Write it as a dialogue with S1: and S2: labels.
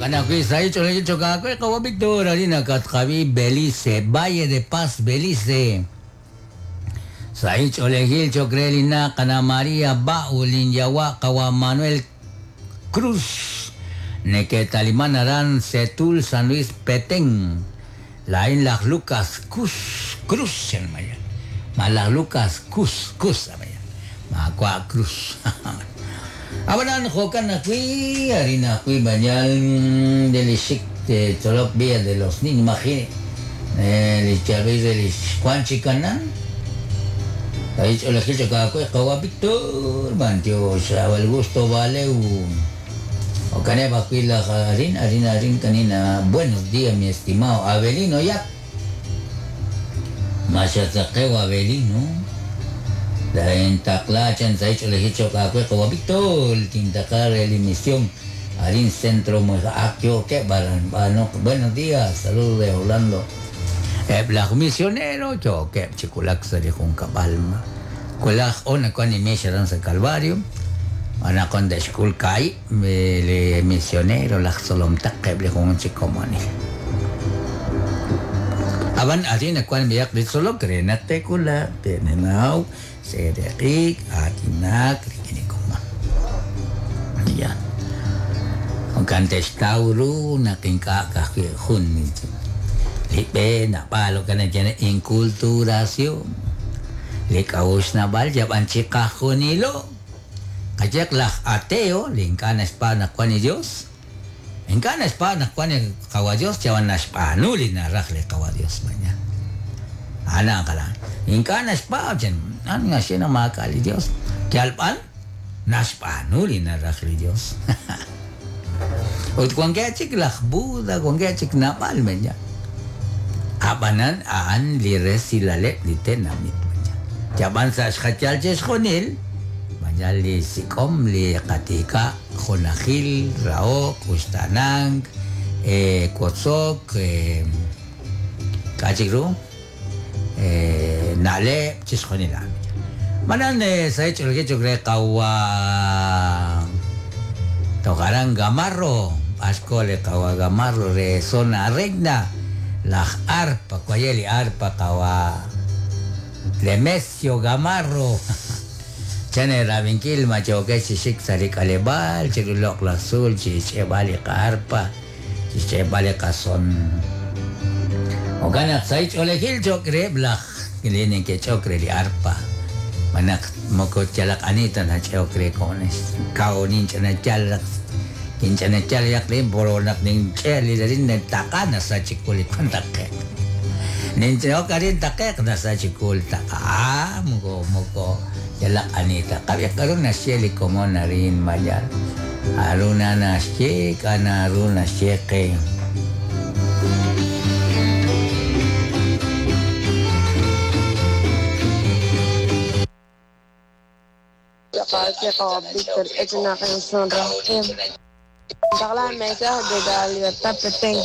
S1: Kana kwi sa icho le choka kwe kawa Victor arina katkabi Belice, Valle de Paz, Belice. Sa icho le gil chokrelina kana María Baulin Yawa kawa Manuel Cruz. Neke Talimán Aran Setul San Luis Petén. Lain Las Lucas Cus Cruz maya. Malas Lucas Cus Cus maya. Makwa Cruz. Abanan jokan akui harina akui bañal delishik de Tolok Villa de los Niños imagine. El Chavez del Juan Chicanan. Ahí le gil choka kawa Víctor mantio el gusto vale o caneba la harina harina harina canina. Buenos días, mi estimado Abelino ya. Machatzaqeo Abelino. La entaklachan sa hecho le hecho kawa Víctor tintakar el emisión Harin Centro Akio que baran buenos días, saludos de Orlando. Blak misionero yo que chikulak sa di kung kabalma. Kulak ona con ni sa Calvario. Ana con de school kai le misionero lak solom takeb le kung chikomani. Aban arina kwan biyak di solo krena te kula tenenau sereqik atinak rikini kuma. Ya. Ang kantes tauro naking kakakihun Lipe na palo ka na dyan inkulturasyon. Likaus na bal jaban chikahunilo. Kajak lah ateo lingkanas pa na kwa ni Dios. Ingkanas pa na kwa ni kawa Dios jawan nas panuli na rakle kawa Dios manya. Ana kala. Ingkanas pa jan an nga siya na makali Dios. Kyalpan nas panuli na rakle Dios. Ut kung kaya chik lah Buda kung kaya chik napal manya. Abanan aan li resilale li tenamit manya. Jaban sa xachal chesjonil manya li sikom li katika jonajil raok ustanang kotsok kachikru nale chesjonil. Manan sa hecho el que cree kawa tocarán gamarro ascole kawa gamarro re zona regna la arpa cuayeli arpa kawa Lemesio Gamarro. Chane rabinkil macho que chishik sarik alebal chirulok la sul chichebali arpa chichebali kason. Ogana saich olehil chokre blach kilinen que chokre li arpa. Manak moko chalak anita na chokre kones. Kaonin chana chalak kinchana chalak rin boronak ning cheli rin takana sa chikulit kontakek. Nincho karin takek na sa chikul taka moko moko chalak anita. Kaya karon na siya como na rin mayal. Aruna na siya kana aruna siya kay.
S2: Víctor, es una canción rock. La mesa de la libertad Petén.